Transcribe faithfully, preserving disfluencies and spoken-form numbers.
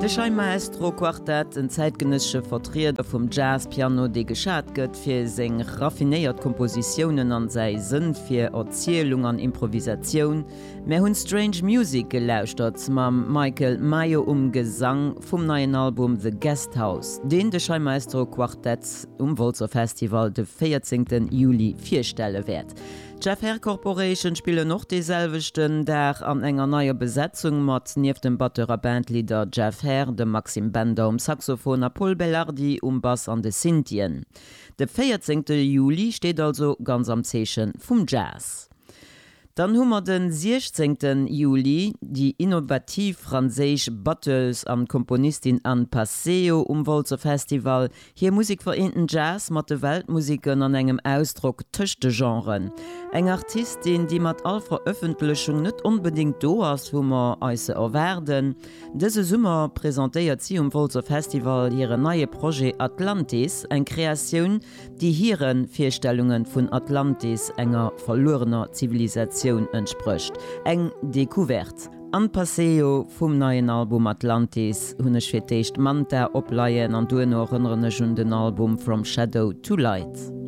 De Shai Maestro Quartet, en zäitgenëssesche Vertrieder vum Jazz-Piano, dee geschat gëtt fir seng raffinéiert Kompositiounen an säi Sënn fir Erzielung an Improvisatioun. Mär hunn Strange Music gelauschtert mam Michael Mayo um Gesang vum neien Album The Guest House, deen de Shai Maestro Quartet um Wolzer Festival de véierzéngte Juli virstelle wäert. D'Jeff Herr Corporation spillen och dee selwechten Dag an enger neier Besetzung mat nieft dem Batteur a Bandleader Jeff Herr, dem Maxime Bender um Saxophon a Pol Belardi um Bass an de Synthien. De véierzéngte Juli steet also ganz am Zeeche vum Jazz. Dann hu mer de siechzéngte Juli déi innovativ franséisch Batteuse an Komponistin Anne Passeo um Wolzer Festival. Hir Musek vereent den Jazz mat de Weltmuseken an engem Ausdrock tëscht de Genren. Eng Artistin, déi mat all Verëffentlechung net onbedéngt do ass, wou mer eis se erwaarden. Dëse Summer presentéiert si um Wolzer Festival hiren neie Projet Atlantis, eng Kreatioun, déi hire Virstellunge vun Atlantis, enger verluerener Zivilisatioun, entsprécht. Eng Decouverte. An Paseo vum neien Album Atlantis hunn ech fir d'éischt Manta opleien an duerno erënneren ech un den Album From Shadow to Light.